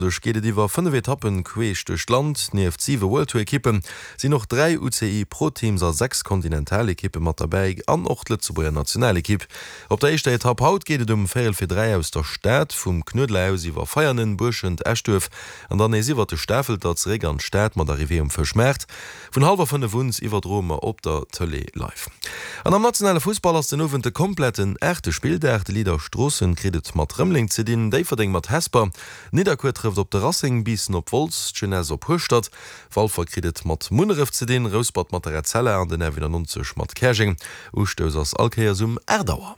Duerch geet et iwwer 5 Etappen queesch duerch d'Land. Nieft 7 World Tour Ekippen sinn och 3 UCI Pro Teams a 6 Kontinentalekippe mat derbäi an och d'Lëtzebuerger Nationalekipp. Op der éischter Etapp haut geet et um véierel fir 3 aus der Stad, vum Knuedler aus iwwer Veianen, Buerschent, Eschduerf an dann nees iwwert de Stafelter zeréck an d'Stad mat Arrivée um Fëschmaart. Vun hallwer 5 un iwwerdroe mer op der Tëlee live. An am nationale Fussball ass den Owend de kompletten aachte Spilldag. De Leader Stroossen kritt et mat Rëmeleng ze dinn, Déifferdeng mat Hesper, Nidderkuer trëfft op de Racing, Biissen op Wolz, d'Jeunesse op Hueschtert, Walfer kritt et mat Munneref ze dinn, Rouspert mat der Etzella an den RW 90 mat Käerjeng. Ustouss ass all Kéiers um 8 Auer.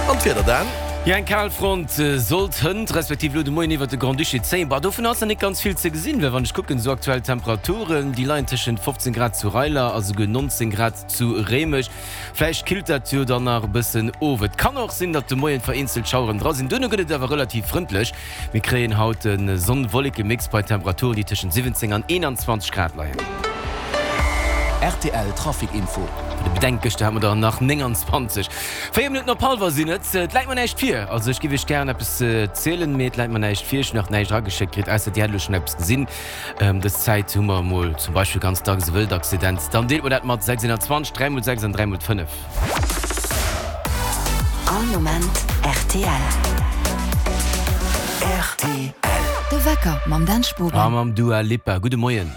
An d'Wieder dann? Jo, eng Kalfront sollt hënt, respektiv elo de Moien iwwert de Grand-Duché zéien. Bah, dovun ass nach net ganz vill ze gesinn, well wann ech kucken, esou aktuell Temperaturen, déi leien tëschent 15 Grad zu Reiler a souguer 19 Grad zu Réimech. Vläicht killt dat jo dann nach e bëssen of. Et kann och sinn, datt de Moien vereenzelt Schaueren dra sinn, duerno gëtt et awer relativ frëndlech. Mir kréien haut e Sonn-Wolleke-Mix bei Temperaturen, déi tëschent 17 an 21 Grad leien. Rtl Trafic Info. Bei de Bedenkgëschter hat mer der nach 29. 4 Minutten op hallwer sinn et. Et läit mer näischt vir. Also ech giff iech gären eppes zielen, mee et läit mer näischt vir. Ech hunn nach näischt erageschéckt kritt, ausser dir hätt elo schonn eppes gesinn. Dës Zäit hu mer emol zum Beispill ganz dacks e Wëldaccident. Dann deelt mer dat mat 621, 3 mol 6 an 3 mol 5. All Moment rtl. Rtl. De Wecker mam Dan Spogen. A mam Dua Lipa. Gudde Moien.